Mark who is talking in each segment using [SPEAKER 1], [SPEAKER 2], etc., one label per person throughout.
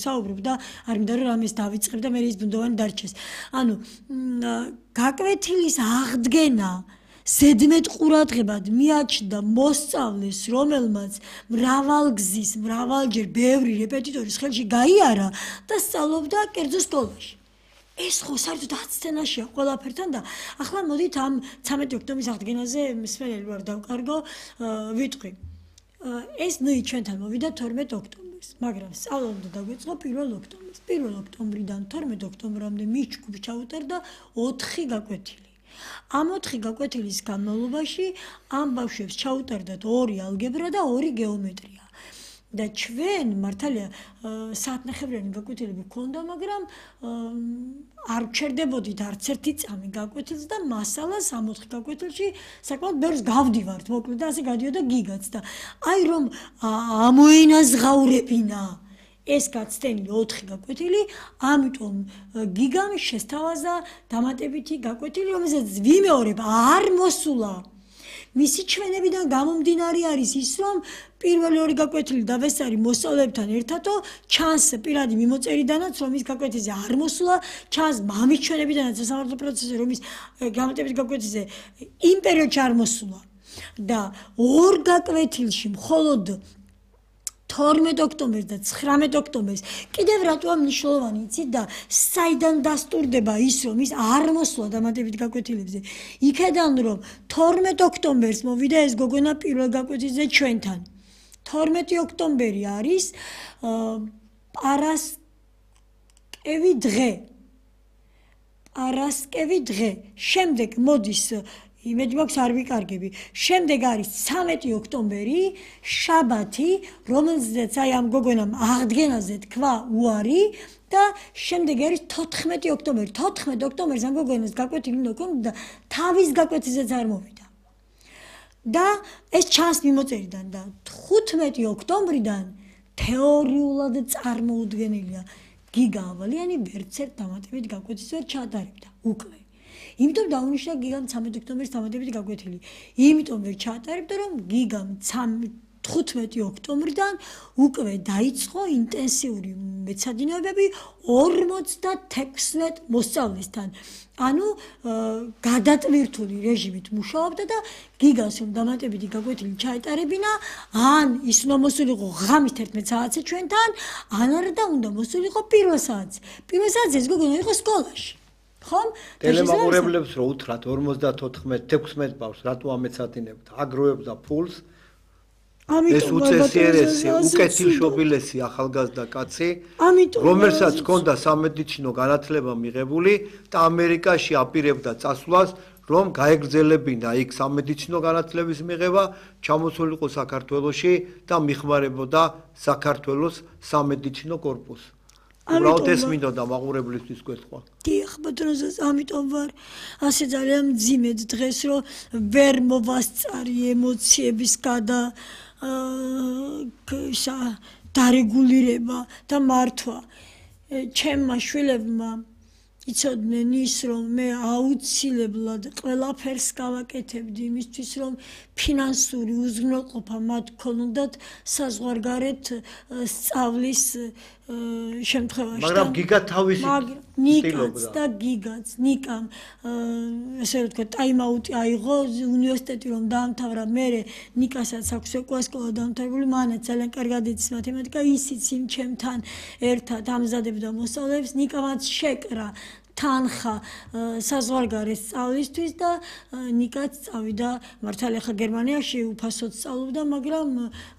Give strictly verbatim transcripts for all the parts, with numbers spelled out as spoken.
[SPEAKER 1] საუბრობ და არ მინდა რომ რამეს დავიწყებ და მე ის ბუნდოვანი დარჩეს. ანუ გაკვეთილის აღდგენა ზედმეტ ყურადღებად მიაჩნდა მოსწავლეს, რომელმაც მრავალგზის, მრავალჯერ ბევრი რეპეტიტორის ხელში გაიარა და სწავლობდა კერძო სკოლაში. ეს ხო საერთოდ აცდენაშია ყველაფერთან და ახლა მოდით ამ ცამეტი ოქტომბრის აღდგენაზე მსმენელი ვარ დავკარგო ვიტყვი. ეს ნუ ჩვენთან მოვიდა თორმეტ ოქტომბერს, მაგრამ სწავლა უნდა დაგვიწყო პირველ ოქტომბერს. პირველ ოქტომბრიდან თორმეტ ოქტომბრამდე მის ჯგუფს ჩაუტარდა ოთხი გაკვეთილი. ამ ოთხი გაკვეთილის განმავლობაში ამ ბავშვებს ჩაუტარდათ ორი ალგებრა და ორი გეომეტრია. და ჩვენ მართალია საათნახევრიანი გაკვეთილები გქონდა, მაგრამ არ ვჩერდებოდით არც ერთი წამი გაკვეთილს და მასალას ამ ოთხ გაკვეთილში საკმაოდ ბევრს გავდივართ, მოკლედ და ასე გადიოდა გიგაც და აი რომ ამოენაზღაურებინა ეს გაცდენილი ოთხი გაკვეთილი, ამიტომ გიგამ შესთავაზა დამატებითი გაკვეთილი, რომელსაც ვიმეორებ არ მოსულა. მისი ჩვენებიდან გამომდინარე არის ის, რომ პირველი ორი გაკვეთილი დავესწარი მოსწავლეებთან ერთადო, ჩანს პირადი მიმოწერიდანაც, რომ ის გაკვეთილზე არ მოსულა, ჩანს მამის ჩვენებიდანაც სასამართლო პროცესზე, რომ ის გამატებითი გაკვეთილზე იმ პერიოდში არ მოსულა. და ორ გაკვეთილში მხოლოდ თორმეტ ოქტომბერს და ცხრამეტ ოქტომბერს კიდევ რატოა მნიშვნელოვანი იცით და საიდან დასტურდება ის რომ ის არ მოსულა დამატებით გაკვეთილებზე იქედან რომ თორმეტ ოქტომბერს მოვიდა ეს გოგონა პირველ გაკვეთილზე ჩვენთან თორმეტი ოქტომბერი არის პარასკევი დღე პარასკევი დღე შემდეგ მოდის იმედი მაქვს არ ვიკარგები. შემდეგ არის ცამეტი ოქტომბერი, შაბათი, რომელზეც აი ამ გოგონამ აღდგენაზე თქვა უარი და შემდეგ არის თოთხმეტი ოქტომბერი. თოთხმეტ ოქტომბერს ამ გოგონას გაკვეთილი უნდა ქონოდა და თავის გაკვეთილზეც არ მოვიდა. და ეს ჩანს მიმოწერიდან და თხუთმეტი ოქტომბრიდან თეორიულად წარმოუდგენელია. გიგა ავალიანი ვერც ერთ დამატებით გაკვეთილს ვერ ჩაატარებდა უკვე. იმიტომ დაუნიშნა გიგამ ცამეტი ოქტომბრის დამატებითი გაკვეთილი. იმიტომ ვერ ჩაატარებდა, რომ გიგამ თხუთმეტი ოქტომბრიდან უკვე დაიწყო ინტენსიური მეცადინეობები ორმოცდათექვსმეტ მოსწავლესთან. ანუ გადატვირთული რეჟიმით მუშაობდა და გიგას რომ დამატებითი გაკვეთილი ჩაეტარებინა, ან ის უნდა მოსულიყო ღამის თერთმეტ საათზე ჩვენთან, ან არა და უნდა მოსულიყო პირველ საათზე. პირველ საათზე ეს გოგონა იყო სკოლაში. ხომ?
[SPEAKER 2] ტელემაყურებლებს რო უთხრათ ორმოცდათოთხმეტ თექვსმეტ ბავშვს რატო ამეცადინებთ? აგროვებდა ფულს. ეს უწესიერესი, უკეთილშობილესი ახალგაზრდა კაცი, რომელსაც ჰქონდა სამედიცინო განათლება მიღებული და ამერიკაში აპირებდა წასვლას, რომ გაეგრძელებინა იქ სამედიცინო განათლების მიღება, ჩამოსულიყო საქართველოში და მიხმარებოდა საქართველოს სამედიცინო კორპუსს. უბრალოდ ეს მინდოდა მაყურებლისთვის გეთქვა.
[SPEAKER 1] დიახ, ბატონო, ამიტომ ვარ ასე ძალიან მძიმედ დღეს, რომ ვერ მოვასწარი ემოციების გადა დარეგულირება და მართვა. ჩემმა შვილებმა იცოდნენ ის, რომ მე აუცილებლად ყველაფერს გავაკეთებდი იმისთვის, რომ ფინანსური უზრუნველყოფა მათ ქონოდათ საზღვარგარეთ სწავლის შემთხვევაში.
[SPEAKER 2] მაგრამ გიგა თავისი
[SPEAKER 1] ნიკაც და გიგაც, ნიკამ ესე რომ თქვა ტაიმაუტი აიღო უნივერსიტეტი რომ დაამთავრა, მერე ნიკასაც აქვს ეკოასკოლა დაამთავრებული, მანაც ძალიან კარგად იცის მათემატიკა, ისიც იმ ჩემთან ერთად ამზადებდა მოსწავლეებს, ნიკამაც შეკრა თანხა საზღვარგარეთ სწავლისთვის და ნიკაც წავიდა მართალია ხა გერმანიაში უფასოდ სწავლობდა, მაგრამ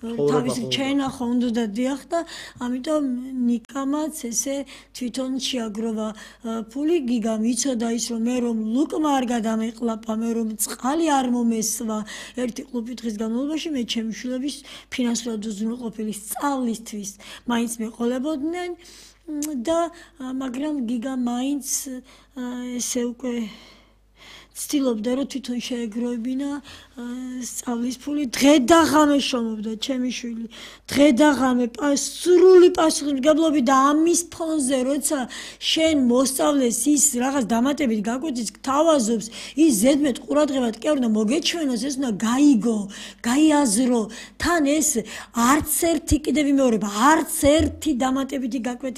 [SPEAKER 1] თავისი ჩაენახა უნდა დიახ და ამიტომ ნიკამაც ესე თვითონ შეაგროვა ფული. გიგამ იცოდა ის რომ მე რომ ლუკმა არ გადამეყლაპა, მე რომ წყალი არ მომესვა ერთი ყლუპი დღის განმავლობაში მე ჩემი შვილების ფინანსურად უზრუნველყოფილი სწავლისთვის მაინც მეყოლებოდნენ და მაგრამ გიგა მაინც ესე უკვე ცდილობდა რომ თვითონ შეეგროვებინა სწავლის ფული. დღე და ღამე შრომობდა ჩემი შვილი, დღე და ღამე სრული პასუხისმგებლობით და ამის ფონზე როცა შენ მოსწავლეს ის რაღაც დამატებით გაკვეთილს გთავაზობს, ის ზედმეტ ყურადღებად კი არ უნდა მოგეჩვენოს, ეს უნდა გაიგო, გაიაზრო. თან ეს არც ერთი კიდევ ვიმეორებ, არც ერთი დამატებითი გაკვეთილი